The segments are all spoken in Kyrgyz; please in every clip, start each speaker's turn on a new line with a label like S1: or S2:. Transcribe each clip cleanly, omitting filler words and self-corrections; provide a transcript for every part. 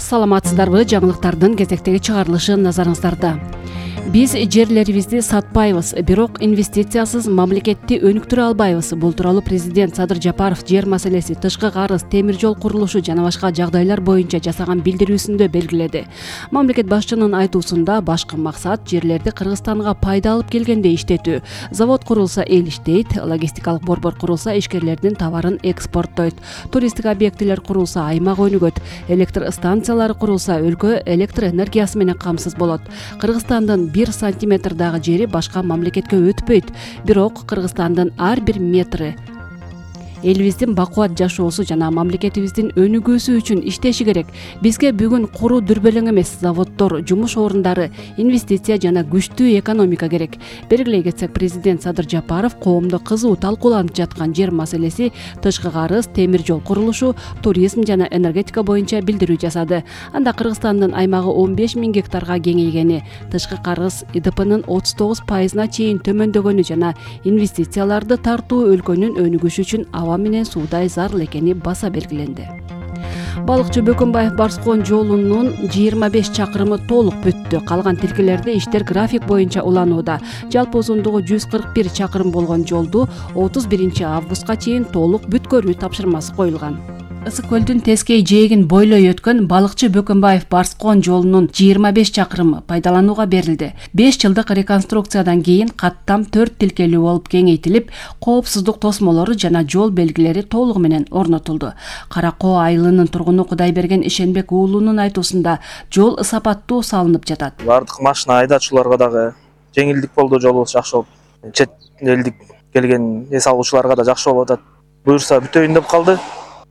S1: Саламатсыздарбы? Жаңылыктардын кезектеги чыгарылышы назарыңыздарда. Биз жерлерибизди сатпайбыз, бирок инвестициясыз мамлекетти өнүктүрө албайбыз. Бул тууралуу президент Садыр Жапаров жер маселеси, тышкы карыз, темир жол курулушу жана башка жагдайлар боюнча жасаган билдирүүсүндө белгиледи. Мамлекет башчынын айтуусунда башкы максат жерлерди Кыргызстанга пайда алып келгенде иштетүү. Завод курулса эл иштейт, логистикалык борбор курулса ишкерлердин товарын экспорттойт, туристтик объектилер курулса аймак өнүгөт, электр станциялары курулса өлкө электр энергиясы менен камсыз болот. Кыргызстандын 1 сантиметрдагы жери башка мамлекетке өтпөйт, бирок Кыргызстандын ар бир метри элибиздин бакубат жашоосу жана мамлекетибиздин өнүгүүсү үчүн иштеши керек. Бизге бүгүн куру дүрбелең эмес, заводдор, жумуш орундары, инвестиция жана күчтүү экономика керек. Белгилей кетсек, президент Садыр Жапаров коомдо кызуу талкууланып жаткан жер маселеси, тышкы карыз, темир жол курулушу, туризм жана энергетика боюнча билдирүү жасады. Анда Кыргызстандын аймагы 15 000 гектарга кеңейгени, тышкы карыз ИДПнын 39%-на чейин төмөндөгөнү жана инвестицияларды тартуу өлкөнүн өнүгүшү үчүн аба менен суудай зарыл экени баса белгиленди. Балыкчы Бөкөнбаев Барскон жолунун 25 чакырымы толук бүттү. Калган тилкелерде иштер график боюнча уланууда. Жалпы узундугу 141 чакырым болгон жолду 31 августка чейин толук бүткөрүү тапшырмасы коюлган. Ысык көлдүн тескей жээгин бойлой өткөн Балыкчы Бөкөнбаев Барскон жолунун 25 чакырымы пайдаланууга берилди. 5 жылдык реконструкциядан кийин каттам 4 тилкелүү болуп кеңейтилип, коопсуздук тосмолору жана жол белгилери толугу менен орнотулду. Кара Коо айылынын тургуну Кудайберген Ишенбек уулунун айтуусунда жол сапаттуу салынып жатат.
S2: Бардык машина айдачуларга дагы жеңилдик болду, жолубуз жакшы болуп, чет элдик келген эс алуучуларга да жакшы болуп атат. Буюрса бүтөйүн деп калды.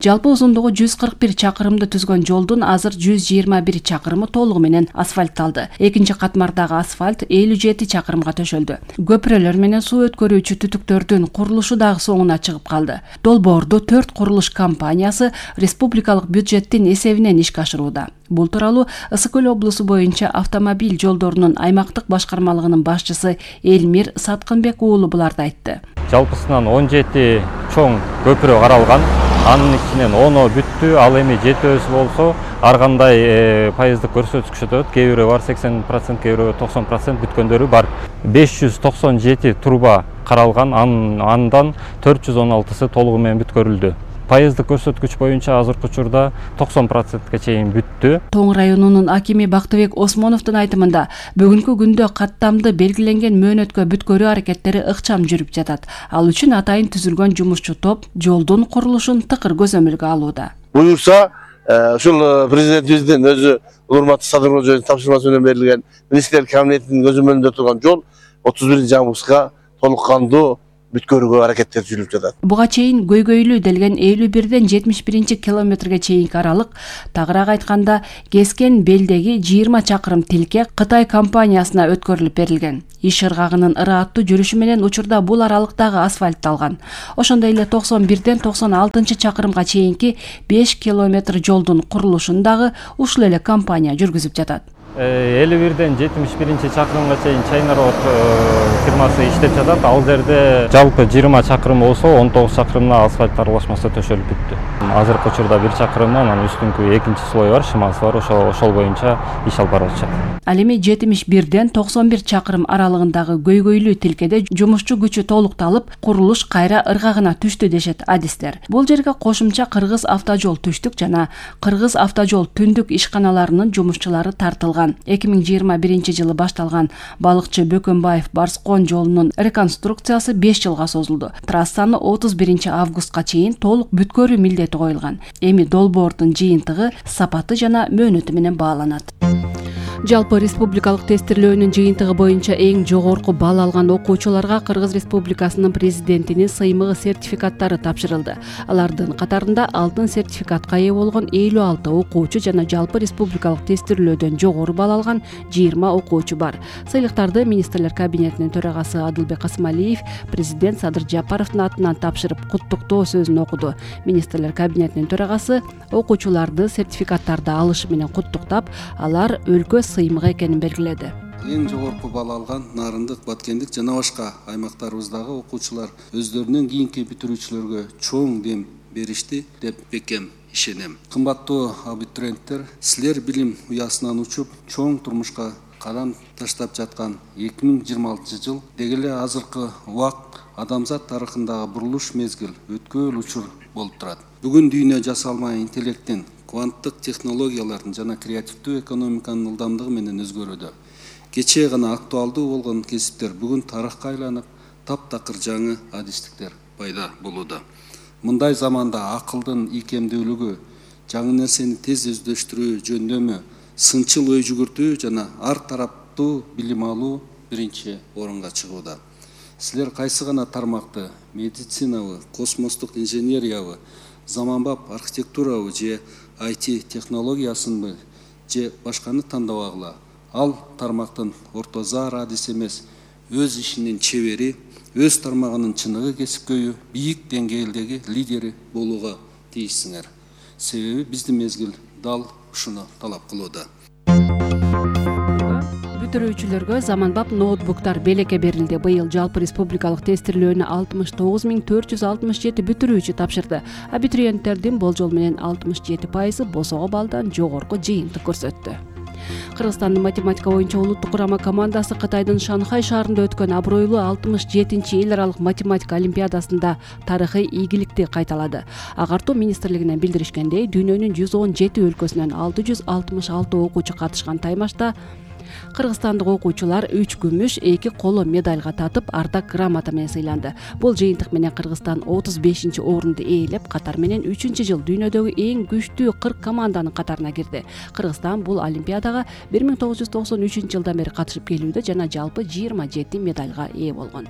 S1: Жалпы узундугу 141 чакырымды түзгөн жолдун азыр 121 чакырымы толугу менен асфальтталды. Экинчи катмардагы асфальт 57 чакырымга төшөлдү. Көпүрөлөр менен суу өткөрүүчү түтүктөрдүн курулушу дагы соңуна чыгып калды. Долбоорду 4 курулуш компаниясы республикалык бюджеттин эсебинен ишке ашырууда. Бул тууралуу Ысык көл облусу боюнча автомобиль жолдорунун аймактык башкармалыгынын башчысы Элмир Саткынбек уулу буларды айтты.
S3: Жалпысынан 17 чоң көпүрө каралган. Анын ичинен 10 бүттү, ал эми 7 болсо ар кандай пайыздык көрсөткүчтө өтөт. Кээ бирөө бар 80%, кээ бирөө 90% бүткөндөрү бар. 597 труба каралган, андан 416сы толугу менен бүткөрүлдү. Пайыздык көрсөткүч боюнча азыркы учурда 90%ке чейин бүттү.
S1: Тоң районунун акими Бактыбек Осмоновдун айтымында бүгүнкү күндө каттамды белгиленген мөөнөткө бүткөрүү аракеттери ыкчам жүрүп жатат. Ал үчүн атайын түзүлгөн жумушчу топ жолдун курулушун тыкыр көзөмөлгө алууда.
S4: Буюрса, ушул президентибиздин өзү урматтуу Садыр Кожоевдун тапшырмасы менен берилген министрлер кабинетинин көзөмөлүндө турган жол 31 августка толук кандуу бүткөрүүгө аракеттер жүрүп жатат.
S1: Буга чейин көйгөйлүү делген 51ден 71 километрге чейинки аралык, тагыраак айтканда Кескен белдеги 20 чакырым тилке Кытай компаниясына өткөрүлүп берилген. Иш ыргагынын ырааттуу жүрүшү менен учурда бул аралыктагы асфальтталган. Ошондой эле 91ден 96 чакырымга чейинки 5 километр жолдун курулушун дагы ушул эле компания жүргүзүп жатат.
S3: 51ден 71 чакырымга чейин Чайна Road фирмасы иштеп жатат. Ал жерде жалпы 20 чакырым болсо 19 чакырымына асфальт аралашмасы төшөлүп бүттү. Азыркы учурда 1 чакырым, анан үстүнкү экинчи слой бар, шымасы бар, ошол боюнча иш алып барып жатат.
S1: Ал эми 71ден 91 чакырым аралыгындагы көйгөйлүү тилкеде жумушчу күчү толукталып, курулуш кайра ыргагына түштү дешет адистер. Бул жерге кошумча Кыргыз автожол түштүк жана Кыргыз автожол түндүк ишканаларынын жумушчулары тартылган. 2021 жылы башталган Балыкчы Бөкөнбаев Барскон жолунун реконструкциясы 5 жылга созулду. Трассаны 31 августка чейин толук бүткөрүү милдети коюлган. Эми долбоордун жыйынтыгы, сапаты жана мөөнөтү менен бааланат. Жалпы республикалык тестирлөөнүн жыйынтыгы боюнча эң жогорку балл алган окуучуларга Кыргыз Республикасынын президентинин сыймыгы сертификаттары тапшырылды. Алардын катарында алтын сертификатка ээ болгон 56 окуучу жана жалпы республикалык тестирлөөдөн жогору балл алган 20 окуучу бар. Сыйлыктарды министрлер кабинетинин төрагасы Адылбек Касымалиев президент Садыр Жапаровдун атынан тапшырып куттуктоо сөзүн окуду. Министрлер кабинетинин төрагасы окуучуларды сертификаттарды алышы менен куттуктап, алар өлкө сыймыгы экенин белгиледи.
S5: Эң жогорку балл алган Нарындык, Баткендик жана башка аймактарыбыздагы окуучулар өздөрүнүн кийинки бүтүрүүчүлөргө чоң дем беришти деп бекем ишенем. Кымбаттуу абитуриенттер, силер билим уясынан учуп, чоң турмушка кадам таштап жаткан 2026 жыл деги эле азыркы убак адамзат тарыхындагы бурулуш мезгил, өткөл учур болуп турат. Бүгүн дүйнө жасалма интеллекттин, кванттык технологиялардын жана креативдүү экономиканын ылдамдыгы менен өзгөрүүдө. Кечээ гана актуалдуу болгон кесиптер бүгүн тарыхка айланып, таптакыр жаңы адистиктер пайда болууда. Мындай заманда акылдын ийкемдүүлүгү, жаңы нерсени тез өздөштүрүү, жөндөмү, сынчыл ой жүгүртүү жана ар тараптуу билим алуу биринчи орунга чыгууда. Силер кайсы гана тармакты, медицинабы, космостук инженериябы, заманбап архитектурабы же IT технологиясынбы же башканы тандабагыла, ал тармактын ортозар адис эмес, өз ишинин чебери, өз тармагынын чыныгы кесипкөйү, бийик деңгээлдеги лидери болууга тийишсиңер. Себеби биздин мезгил дал ушуну талап кылууда.
S1: Бүтүрүүчүлөргө заманбап ноутбуктар белекке берилди. Быйыл жалпы республикалык тестирлөөнү 69467 бүтүрүүчү тапшырды. Абитуриенттердин болжол менен 67% босого баллдан жогорку жыйынтык көрсөттү. Кыргызстандын математика боюнча улуттук курама командасы Кытайдын Шанхай шаарында өткөн абройлуу 67-чи эл аралык математика олимпиадасында тарыхый ийгиликти кайталады. Агартуу министрлигинен билдиришкендей, дүйнөнүн 117 өлкөсүнөн 666 окуучу катышкан таймашта кыргызстандык окуучулар 3 күмүш, 2 коло медальга татып, ардак грамота менен сыйланды. Бул жыйынтык менен Кыргызстан 35-чи орунду ээлеп, катар менен 3-жыл дүйнөдөгү эң күчтүү 40 команданын катарына кирди. Кыргызстан бул олимпиадага 1993 жылдан бери катышып келүүдө жана жалпы 27 медальга ээ болгон.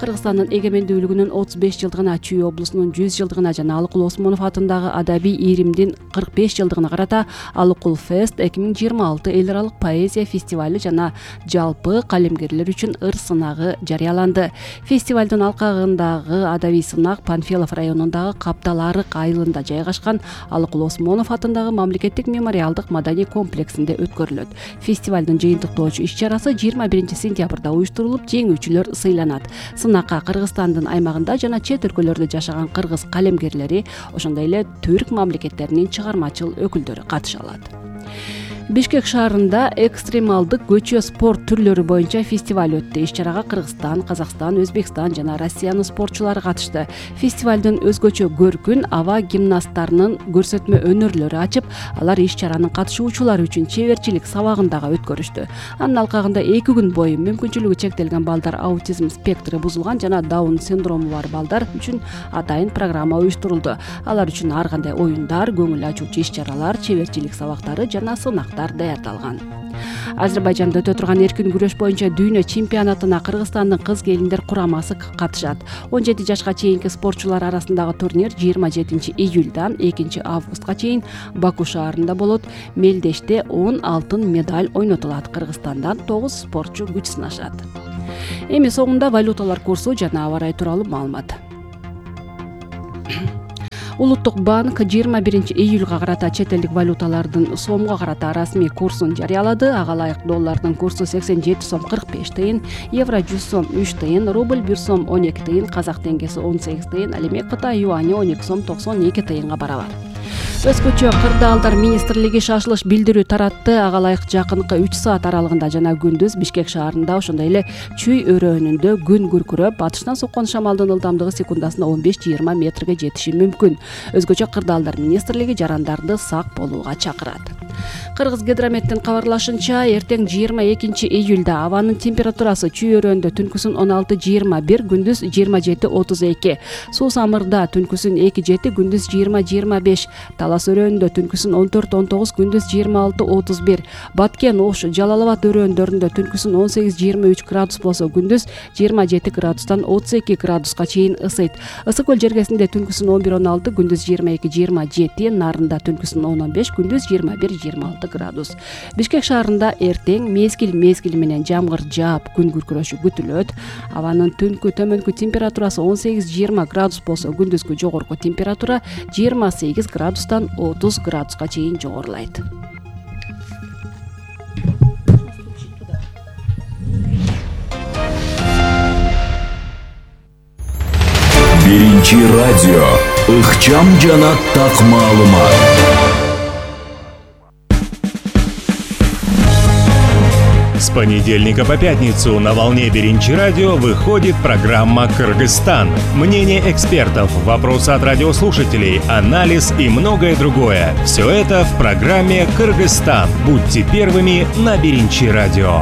S1: Кыргызстандын эгемендүүлүгүнүн 35 жылдыгына, Чүй облусунун 100 жылдыгына жана Алыкул Осмонов атындагы адабий ийримдин 45 жылдыгына карата Алыкул Фест 2026 эл аралык поэзия фестивали жана жалпы калемгерлер үчүн ыр сынагы жарыяланды. Фестивалдын алкагындагы адабий сынак Панфилов районундагы Каптал Арык айылында жайгашкан Алыкул Осмонов атындагы мамлекеттик мемориалдык маданий комплексинде өткөрүлөт. Фестивалдын жыйынтыктоочу иш-чарасы 21 сентябрда уюштурулуп, жеңүүчүлөр сыйланат. Сынакка Кыргызстандын аймагында жана чет өлкөлөрдө жашаган кыргыз калемгерлери, ошондой эле түрк мамлекеттеринин чыгармачыл өкүлдөрү катыша алат. Бишкек шаарында экстремалдык көчө спорт түрлөрү боюнча фестиваль өттү. Иш-чарага Кыргызстан, Казакстан, Өзбекстан жана Россиянын спортчулары катышты. Фестивалдын өзгөчө көркүн аба гимнасттарынын көрсөтмө өнөрлөрү ачып, алар иш-чаранын катышуучулары үчүн чеберчилик сабагын дагы өткөрүштү. Анын алкагында 2 күн бою мүмкүнчүлүгү чектелген балдар, аутизм спектри бузулган жана даун синдрому бар балдар үчүн атайын программа уюштурулду. Алар үчүн ар кандай оюндар, көңүл ачуучу иш-чаралар, чеберчилик сабактары жана сынактар даярдалган. Азербайжанда өтө турган эркин күрөш боюнча дүйнө чемпионатына Кыргызстандын кыз келиндер курамасы катышат. 17 жашка чейинки спортчулар арасындагы турнир 27 июльдан 2 августка чейин Баку шаарында болот. Мелдеште 10 алтын медаль ойнотулат. Кыргызстандан 9 спортчу күч сынашат. Эми соңунда валюталар курсу жана аба ырайы тууралуу маалымат. Улуттук банк 21 июлга карата чет элдик валюталардын сомго карата расмий курсун жарыялады. Ага ылайык доллардын курсу 87 сом 45 тыйын, евро 100 сом 3 тыйын, рубль 1 сом 12 тыйын, казак теңгеси 18 тыйын, ал эми Кытай юани 12 сом 92 тыйынга барабар. Өзгөчө кырдаалдар министрлиги шашылыш билдирүү таратты. Ага ылайык жакынкы 3 саат аралыгында жана күндүз Бишкек шаарында, ошондой эле Чүй өрөөнүндө күн күркүрөп, батыштан соккон шамалдын ылдамдыгы секундасына 15-20 метрге жетиши мүмкүн. Өзгөчө кырдаалдар министрлиги жарандарды сак болууга чакырат. Кыргыз гидрометтин кабарлашынча, эртең 22 июлда абанын температурасы Чүй өрөөнүндө түнкүсүн 16-21, күндүз 27-32, Суу Самырда түнкүсүн 2-7, күндүз 20-25, Талас өрөөнүндө түнкүсүн 14-19, күндүз 26-31, Баткен, Ош, Жалал-Абад өрөөндөрүндө түнкүсүн 18-23 градус болсо, күндүз 27 градустан 32 градуска чейин ысыйт. Ысык көл жергесинде түнкүсүн 11-16, күндүз 22-27, Нарында түнкүсүн 10-15, күндүз 21-26 градус. Бишкек шаарында эртең мезгил менен жамгыр жаап, күн күркүрөшү күтүлөт. Абанын түнкү төмөнкү температурасы 18-20 градус болсо, күндүзгү жогорку температура 28 градустан 30 градуска чейин жогорулайт.
S6: Биринчи радио. Ыкчам жана так маалымат.
S7: С понедельника по пятницу на волне Биринчи радио выходит программа «Кыргызстан». Мнение экспертов, вопросы от радиослушателей, анализ и многое другое. Все это в программе «Кыргызстан». Будьте первыми на Биринчи радио.